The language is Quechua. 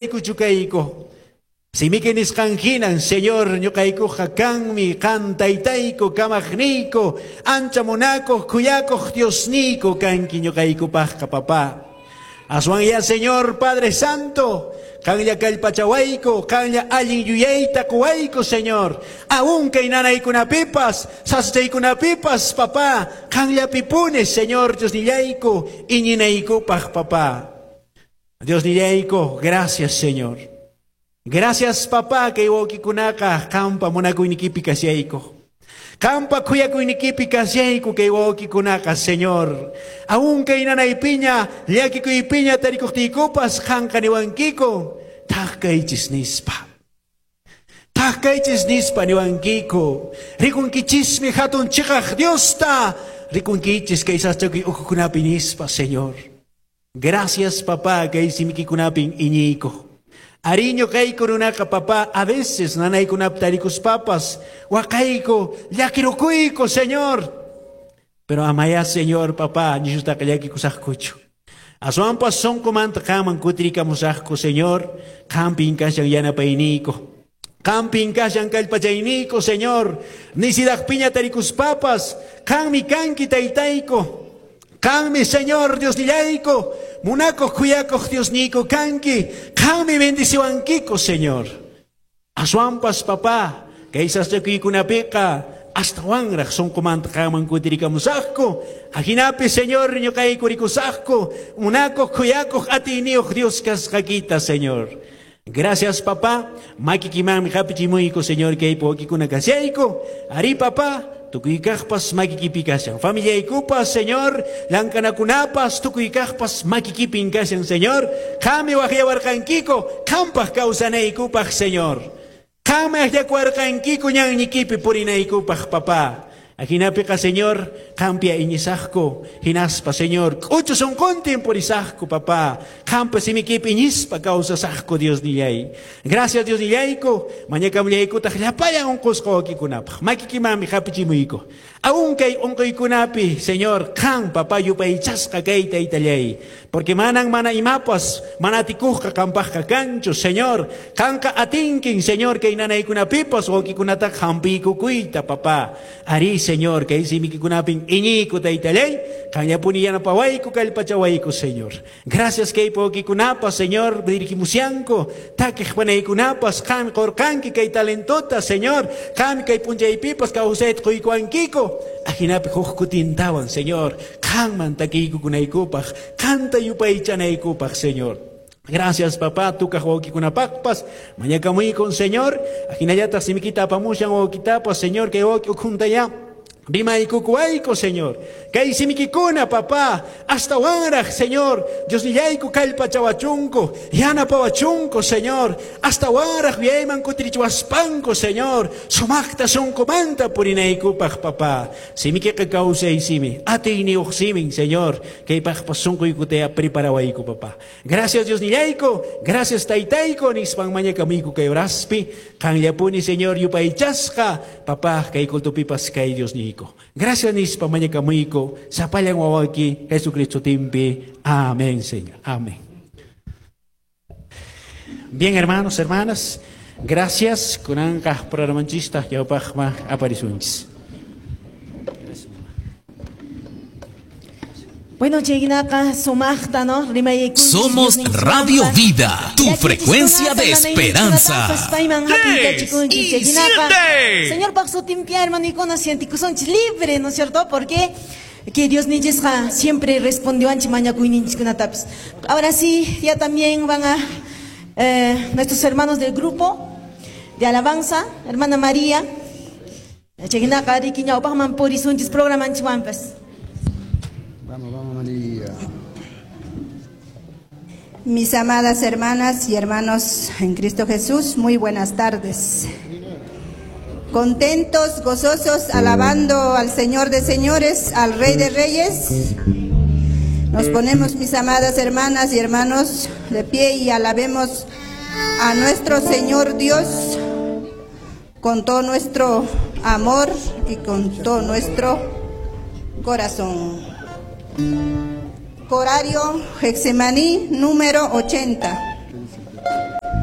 Chukayku. Simiki nisqan hinan, Señor, ñuqaykuqa kanmi, qan taytayku, kamaqniyku, ancha munakuq, khuyakuq Diosniyku kanki ñuqaykupaqqa, papá. Aswan ya, Señor, Padre Santo, qanlla kallpachawayku, qanlla allin yuyayta quwayku, Señor. Aún kay nanaykunapipas, sasachaykunapipas, papá, qanllapipuni, Señor, Diosnillayku, iñinaykupaq, papá. Diosnillayku, gracias, Señor. Gracias, papá, kay wawqikunaqa qampa munakuynikipi kashayku. Qampa khuyakuynikipi kashayku kay wawqikunaqa, Señor. Aún kay nanaypiña, llakikuypiña tarikuqtiykupas qanqa niwankiku, thak kaychis nispa. Thak kaychis nispa niwankiku. Rikunkichismi hatun chiqaq Diosta, rikunkichis kay sasachakuy ukhukunapi nispa, Señor. Gracias, papá, kay simikikunapin iñiyku. Arí ñuqayku runaqa, papá, a veces nanaykunapi tarikuspapas, waqayku, llakirukuyku, Señor. Pero amaya, Señor, papá, nishutaqa llakikusaqkuchu. Aswanpas sunqumanta qanman kutirikamusaqku, Señor, qampin kashan yanapayniyku. Qampin kashan kallpachayniyku, Señor. Nisidaqpiña tarikuspapas, qanmi kanki taytayku. Qanmi, Señor, Diosnillayku, munakuq khuyakuq Diosniyku kanki, qanmi bendiciwankiku, Señor. Aswanpas, papá, kay sasachakuykunapiqa astawanraq sunqumanta qanman kutirikamusaqku. Ajinapi, Señor, ñuqayku rikusaqku, munakuq khuyakuq atiyniyuq Dios kasqakita, Señor. Gracias, papá. Makikimanmi hapichimuyku, Señor, kay wawqikuna kashayku. Ari, papá, tukuykaqpas makikipi kashan. Familiaykupas, Señor, llank'anakunapas, tukuykaqpas makikipin kashan, Señor. Qanmi waqyawarqankiku, qampaq kawsanaykupaq, Señor. Qanmi akllakuwarqankiku ñannikipi purinaykupaq, papá. Ajinapiqa, Señor, qampia iñisaqku, hinaspa, Señor, k'uchu sunquntin purisaqku, papá. Qampa simikipi iñispa kawsasaqku, Diosnillay. Gracias, Diosnillayku, mañakamullaykutaq llapallan unqusqa wawqikunapaq. Makikimanmi hapichimuyku. Aún kay unquykunapi, Señor, qan, papá, yupaychasqa kay taytallay. Porque manan mana imapas, mana atikuqqa qampaqqa kanchu, Señor. Qanqa atinkin, Señor, kay nanaykunapipas wawqikunataqa hampiykukuyta, papá. Ari, Señor, kay simikikunapin iñiyku taytallay, qanllapuni yanapawayku, kallpachawayku, Señor. Gracias kay wawqikunapas, Señor, dirigimusyanku, takiq panaykunapas, qan qurqanki kay talentota, Señor. Qan kay p'unchaypipas kawsayta quykuwankiku. Ajinapi huk kutintawan, Señor, qanman takiykukunaykupaq, qanta yupaychanaykupaq, Señor. Gracias, papá, tukaq wawqikunapaqpas, mañakamuykun, Señor. Ajinallataq simikita apamushan wawqitapas, Señor, kay wawqi ukhuntaya rimaykukuwayku, Señor. Kay simikikuna, papá, astawanraq, Señor, Diosnillayku kallpachawachunku, yanapawachunku, Señor. Astawanraq wiayman kutirichiwaspanku, Señor, sumaqta sunqumanta purinaykupaq, papá. Simikiqa kawsay simi, atiyniyuq simin, Señor, kaypaqpas sunquykutaya preparawayku, papá. Gracias, Diosnillayku, gracias, taytayku, nispan mañakamuyku kay horaspi, qanllapuni, Señor, yupaychasqa, papá, kay cultupipas kay Diosniyku. Gracias nispa mañakamuyku, sapallan wawayki Jesucristo timpi. Amén, Señor. Amén. Bien, hermanos, hermanas, gracias. Kunanqa programanchista ñawpaqma aparisunchis. Bueno, chaynaqa sumaqta, ¿no? Rimayaykunchis Somos Radio Vida, tu frecuencia de esperanza. Payman 3 hap'iykachikunchis y chaynaqa. 7. Señor paq sutinpi hermanuykuna sientikusunchis libre, ¿no es cierto? Porque que Dios ninchisqa siempre respondió anchi mañakuyninchiskunatapis. Ahora sí, ya también van a nuestros hermanos del grupo de alabanza, hermana María. Chaynaqa riki ñawpaqman purisunchis programanchikwanpas. Vamos, vamos, María. Mis amadas hermanas y hermanos en Cristo Jesús, muy buenas tardes. Contentos, gozosos, alabando al Señor de señores, al Rey de reyes. Nos ponemos, mis amadas hermanas y hermanos, de pie y alabemos a nuestro Señor Dios con todo nuestro amor y con todo nuestro corazón. Corario Getsemaní número 80.